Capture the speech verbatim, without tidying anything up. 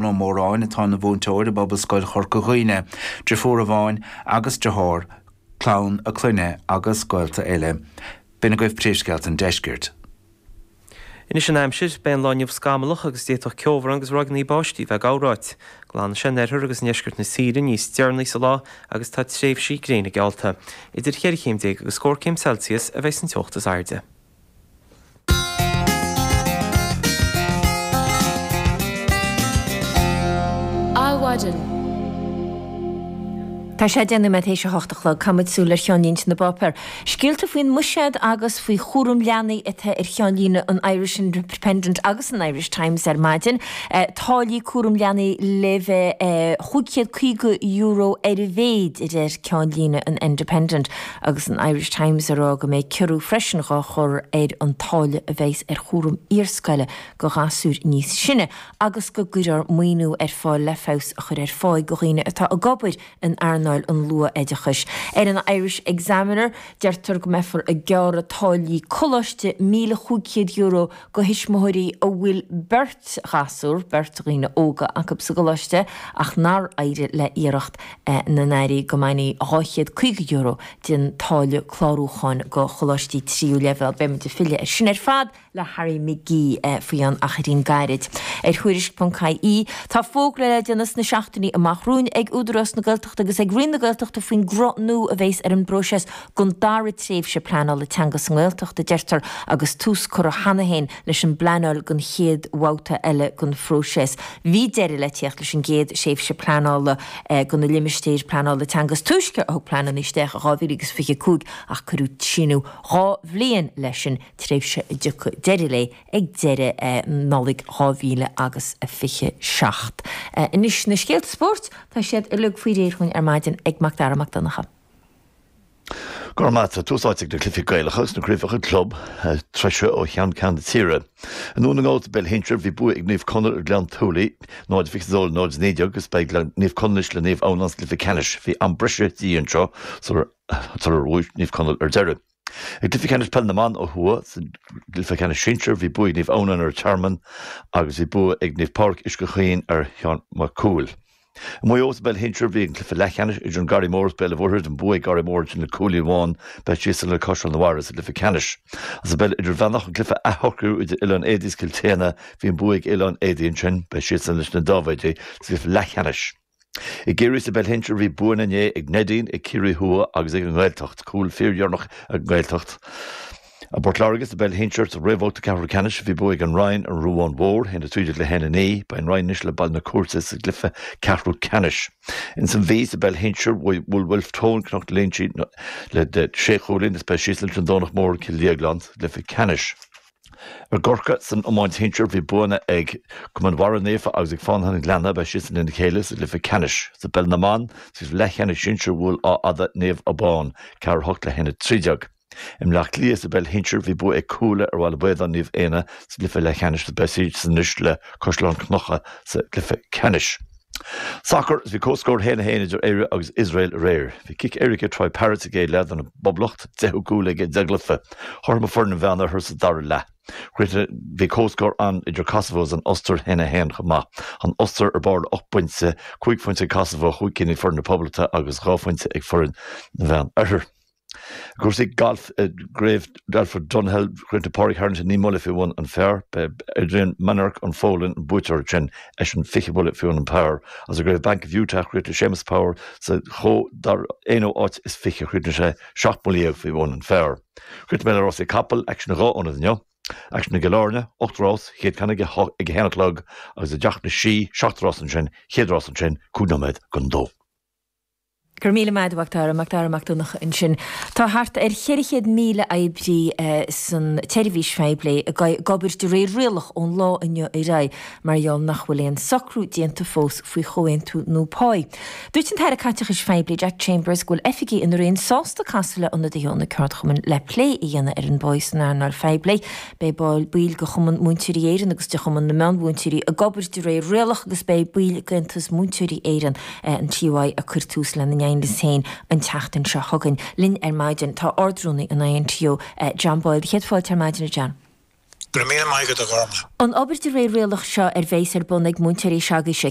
Ó Móráin atá ina mhúinteoir i bPobalscoil Chorca Dhuibhne, deirfiúr amháin agus deartháir, clann a clainne agus gaolta eile. B'in agaibh príomhscéalta an deiscirt. Anois an aimsir, beidh an lá inniu scamallach agus d'fhéadfadh ceobhrán agus ráigeanna báistí bheith ag corráit. Glanfaidh sé in oirthear agus i ndeisceart na tíre níos deireanaí sa lá agus tá tréimhsí gréine geallta. Idir cheithre chéim déag agus scór céim Celsius a bheidh san teocht is airde. Adhmhaidin. Tá sé deich nóiméad théis a hocht a chlog. Caithfimid súil ar cheannlínte na bpáipéar. Scéalta faoin mbuiséad agus faoi chúram leanaí atá ar cheannlíne an Irish Independent agus an Irish Times ar maidin. Táillí cúram leanaí le bheith chúig chéad caoga euro ar a mhéid, a deir ceannlíne an Independent agus an Irish Times ag rá go mbeidh ciorrú freisin dhá chur ar an táille a bheas ar chúram iarscoile go ghasúir níos sine agus go gcuirfear maoiniú ar fáil le feabhas a chur ar pháigh go dhaoine atá ag obair in earnáil an luath-oideachais. Ar an Irish Examiner, deirtear go mbeifear ag gearradh táillí coláiste míle chúig chéad euro go thuismitheoirí a bhfuil beirt ghasúr, beirt dhaoine óga acu sa gcoláiste ach nár éirigh le iarracht na n-airí go mbainfí dhá chéad caoga euro den táille clárúcháin go choláistí tríú leibhéal. Beimid ag filleadh air sin ar fad le Harry McGee faoi cheann achairín gairid. Ar Thuairisc ponc ie, tá fógra le déanamh sna seachtainí amach romhainn ag Údarás na Gaeltachta agus ag Roinn na Gaeltachta faoin gcruth nua a bheas ar an bpróiseas don dara tréimhse pleanála teanga sa nGaeltacht, a deirtear, agus tús curtha cheana féin leis an bpleanáil don chéad bhabhta eile den phróiseas. Bhí deireadh le tíocht leis an gcéad thréimhse pleanála do na limistéir pleanála teanga is túisce a thug pleananna isteach i dhá mhíle agus fiche a cúig ach cuireadh síneadh dhá bhliain leis sin, tréimhse a dtiocfaidh deireadh léi ag deireadh Nollaig dhá mhíle agus a fiche seacht. Anois na scéalta spóirt, tá siad uilig faoi réir chugainn ar maidin ag Mac Dara Mac Donncha. Go raibh maith agat. Tús áite ag na cluichí Gaelacha agus na craobhacha club treise ó cheann ceann na tíre. I nDún na nGall sa bpeil shinsir bhí bua ag Naomh Conaill ar Ghleann tSúilí, náid fiche a dó le náid a naoi déag agus beidh Naomh Conaill anois le Naomh Adhamhnáin sa gcluiche ceannais. Bhí am breise de dhíth anseo sular bhuaigh Naomh Conaill ar deireadh. I gcluiche ceannais peil na mban ó thuaidh, sa gcluiche ceannais sinsir, bhí bua ag Naomh Adhamhnáin ar an Tearmann agus bhí bua ag Naomh Pádraig Uisce Chaoin ar Sheán Mac Cumhaill. I Maigh Eo sa bpeil shinsir, bhí an cluiche leathcheannais idir an Garraí Mór agus Béal an Mhuirthead, an bua ag Garraí Mór ansin le cúilín amháin, beidh siadsan le Caisleán an Bharraigh sa gcluiche ceannais. Agus sa bpeil idirmheánach, an cluiche athshocrú idir Oileán Éadaí is Cill tSéadhna, bhí an bua ag Oileán Éadaí ansin, beidh siadsan leis na Dáibhéidí sa gcluiche leathcheannais. I gCiarraí sa bpeil shinsir bhí buanna inné ag Neidín, ag Ciarraí Thuaidh agus ag an nGaeltacht. Cúl fíordheireanach ag an nGaeltacht. I bPort Láirge sa bpeil shinsir sa réamhbhabhta ceathrú ceannais bhí bua ag an Rinn ar an Ruán Mhór, a haon a trí déag le haon a naoi. Beidh an Rinn anois le Baile na Cúirte sa gcluiche ceathrú ceannais. Ins an Mhí sa bpeil shinsir bhuail Wolfe Tone Cnoc na Léinsí le sé chúilín is beidh siadsan leis an Domhnach Mór Cill Dhéagláin sa gcluiche ceannais. I gCorcaigh san iomáint shinsir bhí buanna ag Cumann Bharra Naofa agus ag Fánaithe an Ghleanna, beidh siadsan lena chéile sa gcluiche ceannais. Sa bpeil na mban, sa gcluiche leathcheannais sinsir bhuail Áth Fhada Naomh Abán, ceathair a hocht le haon a trí déag. I mBleá Cliath sa bpeil shinsir bhí bua ag Cuala ar Bhaile Baodáin Naomh Éanna sa gcluiche leathcheannais agus beidh siadsan anois le Caisleán Cnucha sa gcluiche ceannais. Sacar, Bhí comhscór a haon a haon idir Éire agus Iosrael aréir. Bhí cic éirice ag Troy Parrott sa gcéad leath don bPoblacht, deichiú cúl aige i deich gcluiche. Chothromaigh foireann an Mheánoirthir sa dara leath. Bhí comhscór ann idir Kosovo agus an Ostair, a haon a haon chomh maith. An Ostair ar barr le ocht bpointe, cúig phointe ag Kosovo, chúig cinn ag foireann na Poblachta agus dhá phointe ag foireann na Mheánoirthir. I gcúrsaí gailf i gCraobh Alfred Dunhill, chríochnaigh Pádraig Harrington naoi mbuille faoi bhun an phar. B'é Adrian Mannark ón Pholainn an buaiteoir ansin, eisean fiche buille faoi bhun an phar. Agus i gCraobh Bank of Utah, chríochnaigh Séamus Power sa dara haonú áit is fiche, chríochnaigh sé seacht mbuille dhéag faoi bhun an phar. Chríochnóidh mé le rásaí capall, aicsean i dhá ionad inniu. Aicsean i gCill Airne, ocht rás, chéad ceann ag a haon a chlog, agus i dTeach na Sí, seacht rás ansin, chéad rás ansin, cúig nóiméad don dó. Go raibh míle maith agat, a Mhac Dara, Mac Dara Mac Donncha ansin. Tá thart ar cheithre chéad míle oibrí san tseirbhís phoiblí ag obair de réir rialach ón lá inniu ar aghaidh mar gheall nach bhfuil aon socrú déanta fós faoi chomhaontú nua páí. Dúirt an tAire Caiteachais Phoiblí Jack Chambers go bhfuil oifigigh ina roinn sásta casadh le ionadaithe ó na ceardchumainn le plé a dhéanamh ar an bpáí san earnáil phoiblí. Beidh baill de Chumann Múinteoirí Éireann agus de Chumann na Meánmhúinteoirí ag obair de réir rialach agus beidh baill d'Aontas Múinteoirí Éireann an TUI ag cur tús lena n-aighneas féin an tseachtain seo chugainn. Linn ar maidin tá Ard-Rúnaí an INTO, John Boyle. Céad fáilte ar maidin, a John. Go raibh míle maith agat a Ghormfhlaith. An obair de réir rialach seo a bheas ar bun ag múinteoirí s'agaibhse,